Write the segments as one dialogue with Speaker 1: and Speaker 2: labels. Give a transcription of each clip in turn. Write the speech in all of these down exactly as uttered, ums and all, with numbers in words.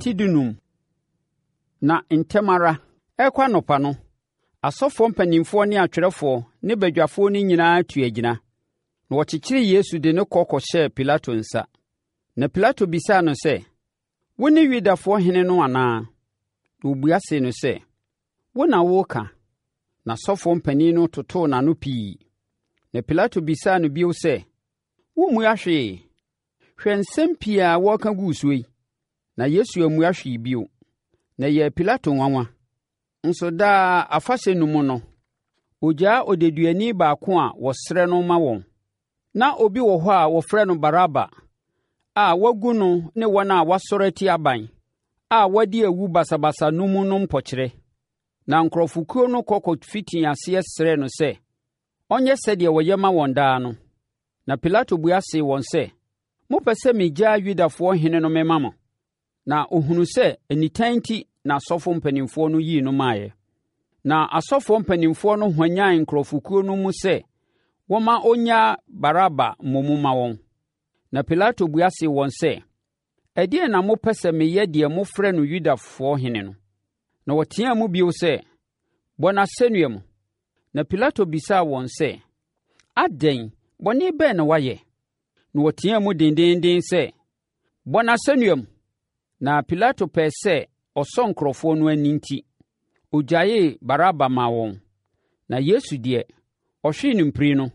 Speaker 1: Ti dunum. Na ntɛm ara, ɛrekɔ anɔpa no, asɔfoɔ mpanimfoɔ ne atwerɛfoɔ ne badwafoɔ no nyinaa tuu agyina, na wɔkyekyeree Yesu de no kɔ kɔhyɛɛ Pilato nsa. Na Pilato bisaa no sɛ, “Wone Yudafoɔ hene no anaa?” Na ɔbua see no sɛ, “Wo na woreka.” Na asɔfoɔ mpanin no totoo n'ano pii. Na Pilato bisaa no bio sɛ, “Wommua hwee? Hwɛ nsɛm pii a wɔreka gu wo so yi.” Na Yesu ammua hwee bio, na ɛyɛɛ Pilato nwanwa. Nso daa afahyɛ no mu no, ɔgyaa odeduani baako a wɔsrɛ no ma wɔn. Na obi wɔ hɔ a wɔfrɛ no Baraba a wɔagu no ne wɔn a wɔasɔre atia aban a wɔadi awu basabasa no mu no mpokyerɛ. Na nkurɔfokuo no kɔ kɔfitii aseɛ srɛɛ no sɛ ɔnyɛ sɛdeɛ ɔyɛ ma wɔn daa no. Na Pilato bua see wɔn sɛ, “Mopɛ sɛ migyaa Yudafoɔ hene no mema mo?” Na ɔhunuu sɛ nitan nti na asɔfoɔ mpanimfoɔ no yii no maeɛ. Na asɔfoɔ mpanimfoɔ no hwanyan nkurɔfokuo no mu sɛ wɔmma ɔnnyaa Baraba mmom mma wɔn. Na Pilato bua see wɔn sɛ, “Ɛdeɛn na mopɛ sɛ meyɛ deɛ mofrɛ no Yudafoɔ hene no?” Na wɔteaa mu bio sɛ, “Bɔ no asɛnnua mu!” Na Pilato bisaa wɔn sɛ, “Adɛn, bɔne bɛn na wayɛ?” Na wɔteaa mu dendeenden sɛ, “Bɔ no asɛnnua mu!” Na Pilato pɛɛ sɛ ɔsɔ nkurɔfoɔ no ani nti, ɔgyaee Baraba maa wɔn. Na Yesu deɛ, ɔhwee no mpire no,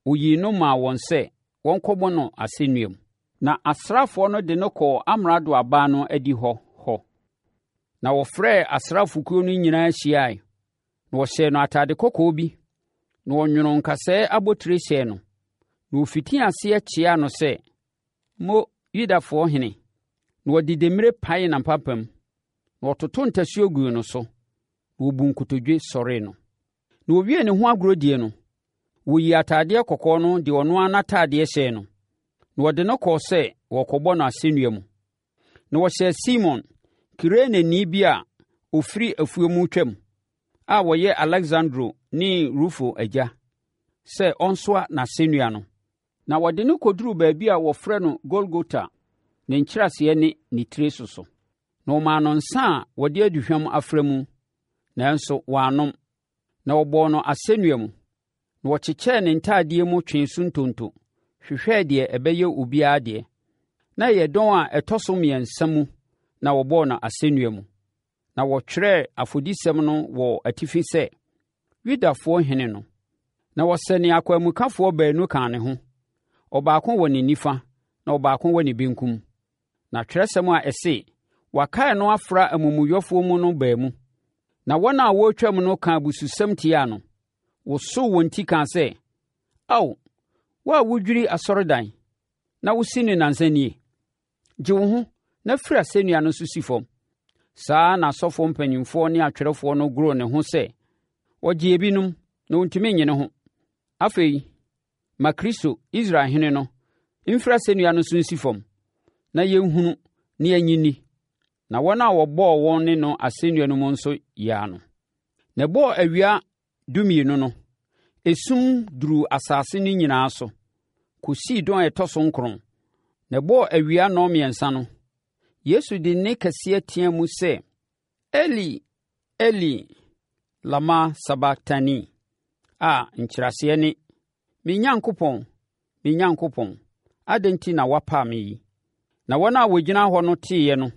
Speaker 1: ɔyii no maa wɔn sɛ wɔnkɔbɔ no asɛnnua mu. Na asraafoɔ no de no kɔɔ amrado aban no adihɔ hɔ. Na wɔfrɛɛ asraafokuo no nyinaa hyiae, na wɔhyɛɛ no atade kɔkɔɔ bi, na wɔnwonoo nkasɛɛ abotire hyɛɛ no. Na wɔfitii aseɛ kyeaa no sɛ, “Mo, Yudafoɔ hene!” Na wɔde demmire paee n'apampam, na wɔtotoo ntasuo guu no so, na wɔbuu nkotodwe sɔree no. Na wɔwiee ne ho agorɔdie no, wɔyii atadeɛ kɔkɔɔ no de ɔno ara n'atadeɛ hyɛɛ no, na wɔde no kɔɔ sɛ wɔrekɔbɔ no asɛnnua mu. Na wɔhyɛɛ Simon, Kireneni bi a ɔfiri afuom retwam, a ɔyɛ Aleksandro ne Rufo agya, sɛ ɔnsoa n'asɛnnua no. Na wɔde no kɔduruu baabi a wɔfrɛ no Golgota, ne nkyerɛaseɛ ne ne tiri so so. Na wɔmaa no nsã a wɔde aduhwam afra mu, nanso wannom. Na wɔbɔɔ no asɛnnua mu. Na wɔkyekyɛɛ ne ntadeɛ mu twee so ntonto, hwehwɛɛ deɛ ɛbɛyɛ obiara deɛ. Na ɛyɛ dɔn a ɛtɔ so mmiɛnsa mu na wɔbɔɔ no asɛnnua mu. Na wɔtwerɛɛ afodisɛm no wɔ atifi sɛ, Yudafoɔ hene no. Na wɔsɛnee akwanmukafoɔ baanu kaa ne ho, ɔbaako wɔ ne nifa na ɔbaako wɔ ne benkum. Na twerɛsɛm a ɛse, “Wɔakae no afra amumuyɛfoɔ mu” no baa mu. Na wɔn a wɔretwam no kaa abususɛm tiaa no, wosoo wɔn ti kaa sɛ, “Ao, wo a wodwiri asɔredan, na wosi no nnansa nie! Gye wo ho na firi asɛnnua no so si fam.” Saa ara na asɔfoɔ mpanimfoɔ ne atwerɛfoɔ no goroo ne ho sɛ, “Ɔgyee ebinom, na ɔntumi nnye ne ho. Afei, ma Kristo, Israel hene no, mfiri asɛnnua no so nsi fam, na yɛnhunu na yɛnnye nni.” Na wɔn a wɔbɔɔ wɔn ne no asɛnnua no mu nso yaa no. Na ɛbɔɔ awia dumienu no, esum duruu asase no nyinaa so kɔsii dɔn a ɛtɔ so nkron. Na ɛbɔɔ awia nnɔnmiɛnsa no, Yesu de nne kɛseɛ teaa mu sɛ, “Eli, Eli, lama sabaktani?” A nkyerɛaseɛ ne, “Me Nyankopɔn, me Nyankopɔn, adɛn enti na woapa me yi?” Na wɔn a wɔgyina hɔ no teeɛ no,